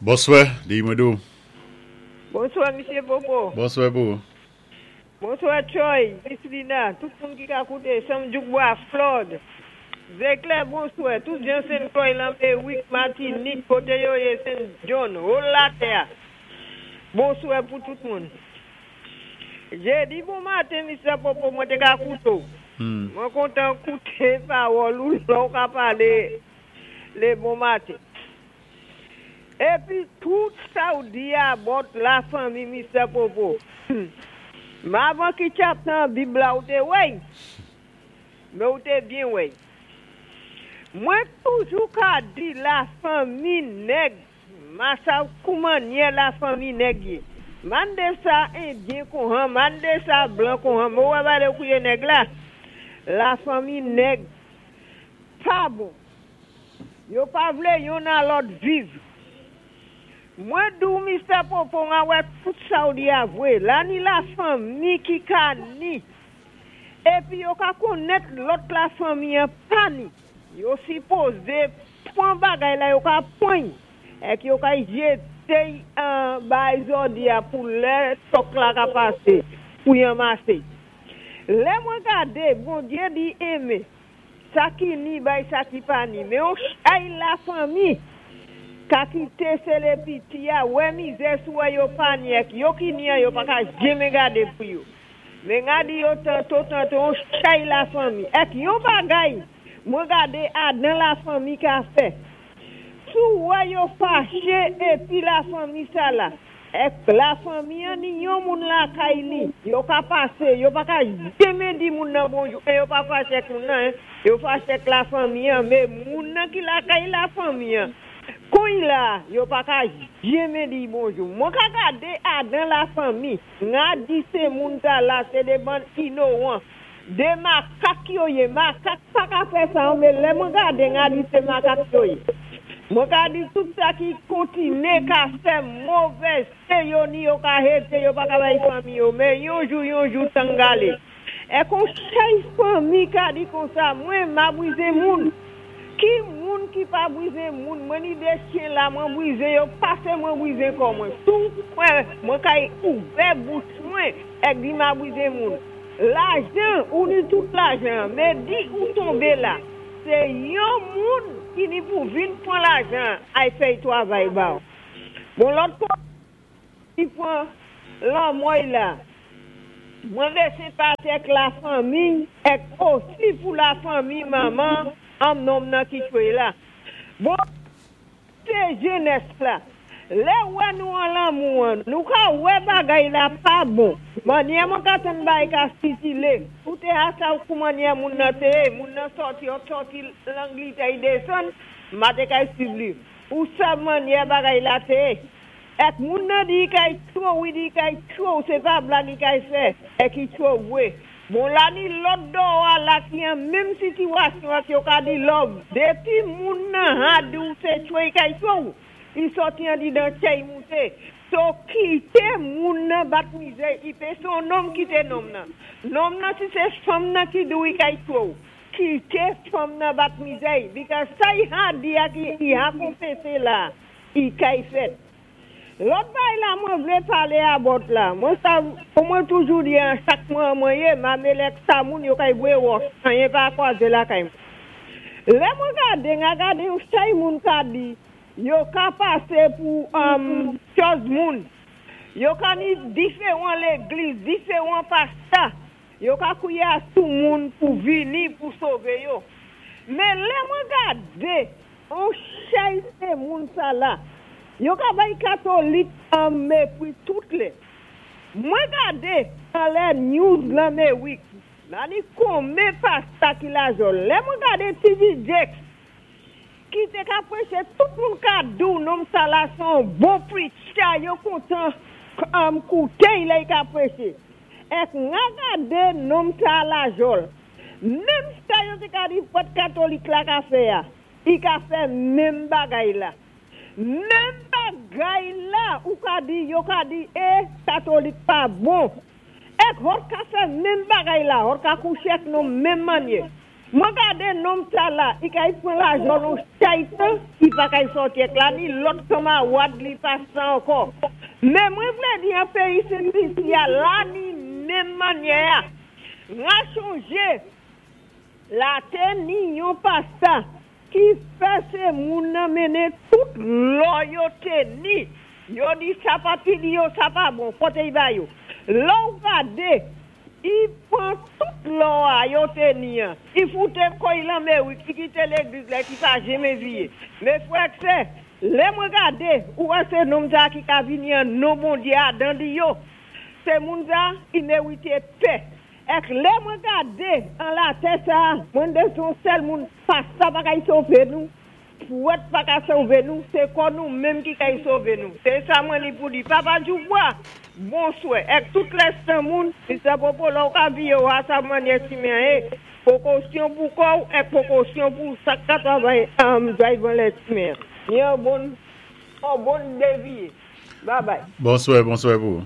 Bonswè, di mwen dou. Bonswè, Misyé Popo. Bonswè pou. Bonswè, Troy, Miss Lina, tout moun ki ka kouté, Sam Djoukbois, Floyd, Zeklè, bonswè, tout jan Sen Croix, Lanmewik, Matinik, koté yo yé, Sen John, whole latè. Bonswè pou tout moun. Jédi bon maten, Mr. Popo, mwen té ka kouté. Mwen kontan kouté pawòl ou lè ou ka palé lé bon maten. Épi tout sa ou di about la fanmi, Mr. Popo. Men avan ki chapter nan Bib la ou té wè, men ou té byen wè. Mwen toujou ka di la fanmi nèg, ma sav kouman la fanmi nèg yé. Mandé sa Endyen kon mandé sa blan kon mwen wè balé kouye nèg la. La fanmi nèg pa bon. Yo pa vlé youn a lòt viv. Mwen dou, Mr. Popo, mwen wè tout sa ou di a vwé. La ni la fanmi ki ka ni. Épi yo ka konnèt lòt la fanmi an pa ni. Yo sipozé pwan bagay la yo ka pwan. Èk yo ka jété an bay zodi a pou lè tok la ka pasé pou yon masé. Lè mwen gadé, Bondyé di enmen. Sa ki ni bay sa ki pa ni. Men on chay la fanmi ka kité sé piti a, wè mizè sou wè yo pa ni èk yo ki ni an yo pa ka jenmen gadé pou yo. Men nga di yo tanto tanto on chay la fanmi. Èk yon bagay mwen gadé adan la fanmi ka fè. Sou wè yo faché épi la fanmi sa la. Èk la fanmi an ni yon moun lakay li, yo ka pasé, yo pa ka jenmen di moun nan bonjou, é yo pa faché ak moun nan, hein. Yo faché ak la fanmi an, men moun nan ki lakay la fanmi an. Kon la, yo pa ka jenmen di bonjou. Mwen ka gadé adan la fanmi, nga di sé moun ta la, sé dé bann inowan. Dé makak yo yé, makak pa ka fè sa, men lè mwen gadé nga di sé makak yo yé. Mwen ka di tout sa ki kontiné ka fè movèz, sé yo ni yo ka hété, yo pa ka bay fanmi yo, men yon jou yon jou tangalé. É kon chay fanmi ka di kon sa, mwen ma bwizé moun. Ki moun ki pa bwizé moun, mwen ni dé chyen la, mwen bwizé yo, pasé mwen bwizé kon mwen. Tou, mwen, mwen kay ouvè bouch mwen, èk di ma bwizé moun. Lajan, ou ni tout lajan, men di ou tonbé la. Sé yon moun ki ni pou vin pwan lajan, ay fè twavay ba ou. Bon, lòt koté ki pwan lanmò la. Mwen vlé senpati ak la fanmi, èk osi pou la fanmi manman, an nonm nan ki tchwé la. Bon, sé jenès la. Lè wè nou an lanmou an, nou ka wè bagay la pa bon. Mannyè mwen ka tann bay ka sitile. Ou té a sa ou kou mannyè moun nan té, moun nan sòti, ou sòti Langlitè yi desann, ma té kay suiv li. Ou sa mannyè bagay la té. Èk moun nan di kay tchwé ou, di kay tchwé ou, sé pa blag i kay fè, èk i tchwé wé. Bon la ni lòt dò a la ki an menm sitiyasyon ak yo ka di love. Dépi moun nan ha di ou sé tchwé i kay tchwé ou. I sòti an di dan tchè i mouté. So kité moun nan bat mizè, i pé son nonm kité nonm nan. Nonm nan si sé fanm nan ki di ou i kay tchwé ou. Kité fanm nan bat mizè, because sa i ha di a ki i ha konfésé la, i kay fèt. Lòt bay la mwen vlé palé about la. Mwen sa, pou mwen toujou di an chak mwen mwen yé, ma melek sa moun yo kay bwé wòch, anyen pa kwazé lakay mwen. Lè mwen gadé, nga gadé yon chay moun ka di, yo ka pasé pou chòz moun. Yo ka ni diferan légliz, diferan pastè. Yo ka kwiye a sou moun pou vini pou sové yo. Men lè mwen gadé, on chay sé moun sa la. Yo ka bay katolik an mépri tout lè. Mwen gadé an lè news Lanmewik. La ni konmen pastè ki la jòl. Lè mwen gadé T.D. Jakes ki té ka préché tout moun ka dou nonm sa la son bon preacher yo kontan kouté lè i ka préché. Èk nga gadé nonm sa la jòl. Menm sa yo té ka di prèt katolik la ka fè a, i ka fè menm bagay la. Menm bagay la, ou ka di, yo ka di, é, katolik pa bon. Èk hòt ka fè menm bagay la, hòt ka kouché ak nou menm mannyè. Mwen gadé nonm sa la, i kay pwan lajan lon chaytan, i pa kay sòti èk la ni lòt kanmawad li pa sa ankò. Men mwen vlé di an péyi Sen Lisi a la ni menm mannyè-a. Ra chonjé la té ni yon pasta ki fè sé moun nan mennen tout lò yo té ni. Yo di sa pa pini yo, sa pa bon, poté y ba yo. Lè ou gadé, i pwan tout lò a yo té ni an, i fouté kò'y lan Merik, i kité légliz la ki pa jenmen viyé. Mé frè ak sè, lè mwen gadé, ou wè sé nonm sa ki ka vini an non Bondyé a dan li yo. Sé moun sa ki mérité pè. Èk lè mwen gadé an latè sa, mwen dé son sèl moun, pasta pa kay sové nou, pwèt pa ka sové nou, sé kò nou menm ki kay sové nou. Sé sa mwen ni pou di. Papa Djoubwa, bonswè. Èk tout lèstan moun, Mr. Popo, lè ou ka viyé ou a sa mannyè simen é, pwékosyon pou kò ou èk pwékosyon pou sak ka travay drive lè simen. Ni an bon, an bon déviyé. Bye bye. Bonswè, bonswè pou.